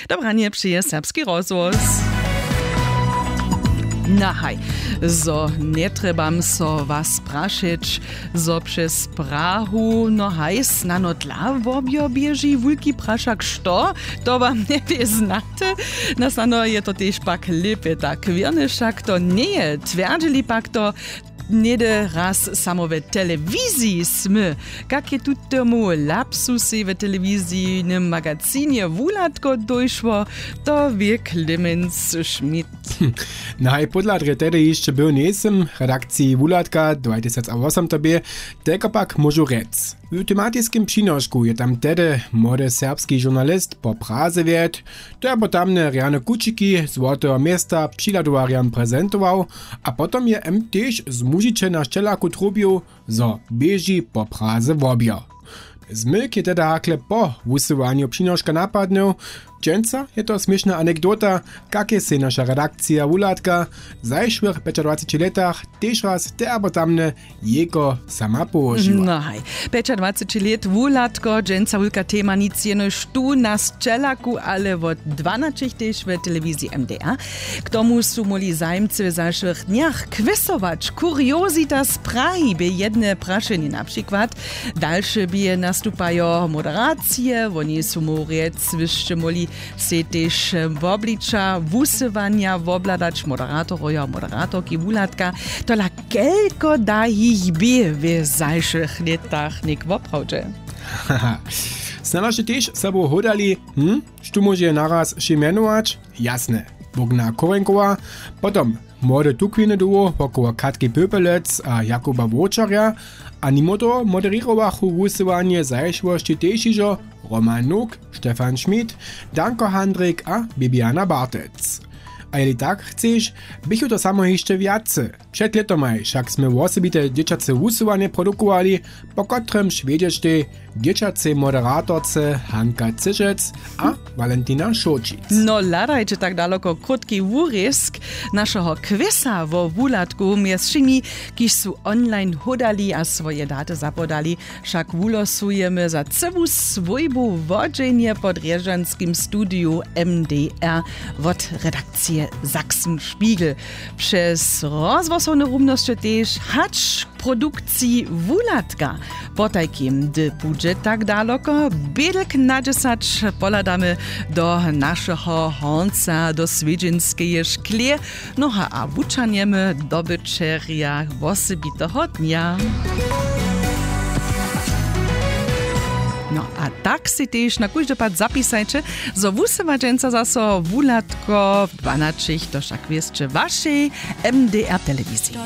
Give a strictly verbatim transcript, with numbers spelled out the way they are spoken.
Dobranje přeje serbski rozhłos. Nahaj, zo njetrjebam so was prašeć, zo přez Prahu no haj snano dla wobjo běži wulki prašak što, to wam njebě znate. Na snano je to tež pak lěpje tak wěrny, wšak to njeje twjerdźili pak to. Něhdy raz samo w telewiziji smy, kak je tutomu lapsusej w telewizijnym magacinje wuhladko dóšło, to wě Clemens Schmidt. Naj pódla drje tehdy hišće był njejsym w redakciji wuhladka dwatysacawosomtobě, telko pak móžu rjec. W tematiskim přinošku je tam tehdy młody serbski žurnalist po praze wjedł, to je potamne rjane kućiki złoteho města přihladowarjam prezentował, a potom je m tež z mužiče na sćelaku trubił, zo běži po praze wobjo. Zmyk je teda hakle po wusyłanju přinoška napadnył. Dźensa je to směšna anekdota, kak je sej naša redakcija wuhladka w zašłych pjećadwaceći lětach tež raz te abo tamne jejko sama połožiła. No haj, pjećadwaceći lět wuhladko, dźensa wulka tema, nic jenož tu na sćelaku, ale wot dwanaćich tež w telewiziji mdr. K tomu su móhli zajimcy w zašłych dnjach kwisować. Kuriozita z Prahi bě jedne prašenje na přikład. Dalše bě nastupajo moderacije, woni su móhł rjec wyšće móhli sej tež wobliča wusyłanja wobhladać, moderatorojo a moderatorki wuhladka. Tola kelko da jich bě w zašłych lětach něk woprawdźe? Snano sće tež sobu hódali, hm? Štó móže naraz wšě mjenować? Jasne, Bogna Korenkowa, potom młode tukwiny dołho wokoło Katki Pöpelec a Jakuba Wowčarja. A nimo toho moderěrowachu wusyłanje zašłosći tež hižo Roman Nuk, Stefan Schmidt, Danko Handrik a Bibiana Bartec. A jeli tak chceš, běchu to samo hišće wjace. Před lětomaj wšak smy wosebite dźěćace wusyłanje produkowali, po kotrymž wjedźeštej dźěćacej moderatorce Hanka Cyžec a Walentina Šołčic. No hladajće tak daloko krótki wurězk našeho kwisa wo wuhladku mjez wšěmi, kiž su online hódali a swoje daty zapodali. Wšak wulosujemy za cyłu swójbu wodźenje pod rježanskim studiju mdr wot redakcije Sachsenspiegel. Přez rozhłosowne rumnosće tež hač k produkciji wuhladka. Potajkim, hdy budźe tak daloko, bědlk na dźesać pohladamy do našeho hornca, do swědźenskeje šklě. Noha a wučernjemy dobyćerja wosebiteho dnja. No a tak sej tež na kóždy pad zapisajće, zo wusyła dźensa zaso wuhladko w dwanaćich, to wšak wěsće wašej mdr telewiziji.